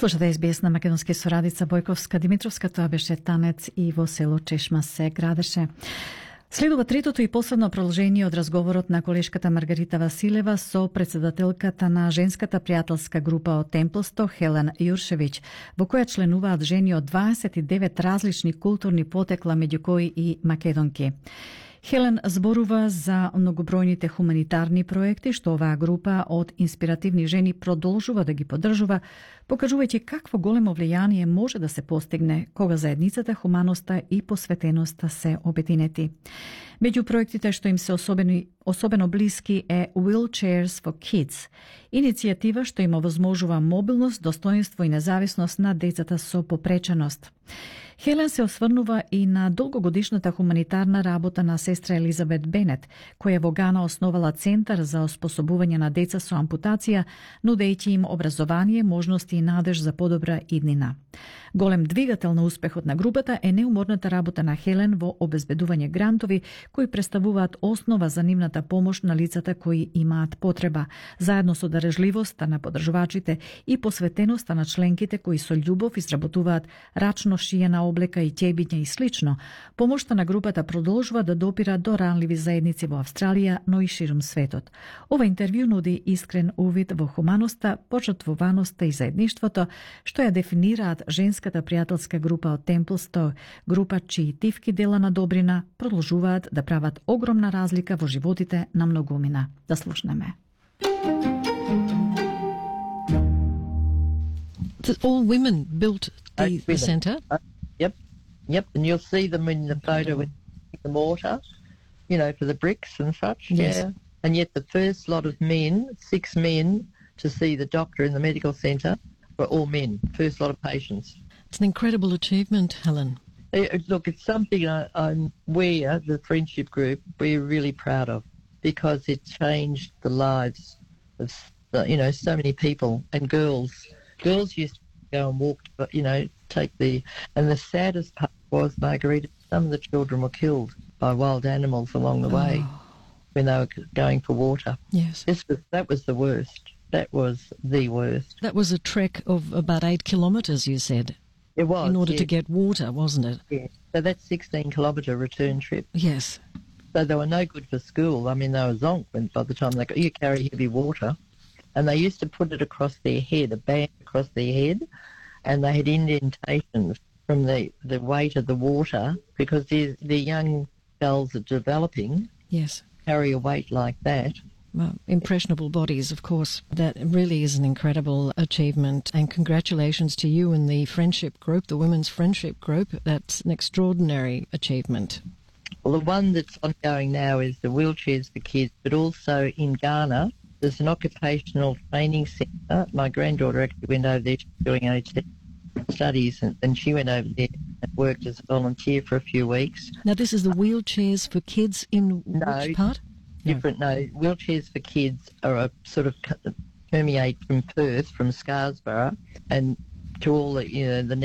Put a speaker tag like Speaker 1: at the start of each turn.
Speaker 1: Слушате СБС на македонски со Радица Бојковска Димитровска, тоа беше танец и во село Чешма се градеше. Следува третото и последно продолжение од разговорот на колешката Маргарита Василева со председателката на женската пријателска група од Темплсто, Хелен Јуршевиќ, во која членуваат жени од 29 различни културни потекла, меѓу кои и македонки. Хелен зборува за многобројните хуманитарни проекти што оваа група од инспиративни жени продолжува да ги поддржува, покажувајќи какво големо влијание може да се постигне кога заедницата, хуманоста и посветеноста се обединети. Меѓу проектите што им се особено блиски е Wheelchairs for Kids, иницијатива што им овозможува мобилност, достоинство и независност на децата со попреченост. Хелен се осврнува и на долгогодишната хуманитарна работа на сестра Елизабет Бенет, која во Гана основала Центар за оспособување на деца со ампутација, нудејќи им образование, можности и надеж за подобра иднина. Голем двигател на успехот на групата е неуморната работа на Хелен во обезбедување грантови кои представуваат основа за нивната помош на лицата кои имаат потреба, заедно со дарежливоста на поддржувачите и посветеноста на членките кои со љубов изработуваат рачно шиена облека и ќебиња и слично. Помошта на групата продолжува да допира до ранливи заедници во Австралија, но и ширум светот. Ова интервју нуди искрен увид во хуманоста, пожртвуваноста и заедништвото, што ја дефинираат женската пријателска група од Темплсто, група чии тивки дела на добрина продолжуваат да прават огромна разлика во животите на многумина. Да слушнеме.
Speaker 2: All women built the centre?
Speaker 3: Yep, and you'll see them in the photo with the mortar, you know, for the bricks and such.
Speaker 2: Yes.
Speaker 3: Yeah. And yet the first lot of men, 6 men, to see the doctor in the medical centre were all men, first lot of patients.
Speaker 2: It's an incredible achievement, Helen.
Speaker 3: Look, it's something we, the friendship group, we're really proud of because it changed the lives of, so many people and girls. Girls used to go and walk, and the saddest part was, Margarita, some of the children were killed by wild animals along the way when they were going for water.
Speaker 2: Yes.
Speaker 3: That was the worst. That was the worst.
Speaker 2: That was a trek of about 8 kilometres, you said.
Speaker 3: It was.
Speaker 2: In order
Speaker 3: yes.
Speaker 2: to get water, wasn't it?
Speaker 3: Yeah. So that's 16-kilometre return trip.
Speaker 2: Yes.
Speaker 3: So they were no good for school. I mean, they were zonk by the time you carry heavy water. And they used to put it across their head, a band across their head, and they had indentations from the weight of the water because the young girls are developing.
Speaker 2: Yes.
Speaker 3: Carry a weight like that.
Speaker 2: Well, impressionable bodies, of course. That really is an incredible achievement, and congratulations to you and the friendship group, the Women's Friendship Group. That's an extraordinary achievement.
Speaker 3: Well, the one that's ongoing now is the Wheelchairs for Kids, but also in Ghana, there's an occupational training centre. My granddaughter actually went over there doing OT studies, and she went over there and worked as a volunteer for a few weeks.
Speaker 2: Now, this is the Wheelchairs for Kids in which part?
Speaker 3: Different, no. Wheelchairs for Kids are a sort of permeate from Perth, from Scarsborough, and to all the, the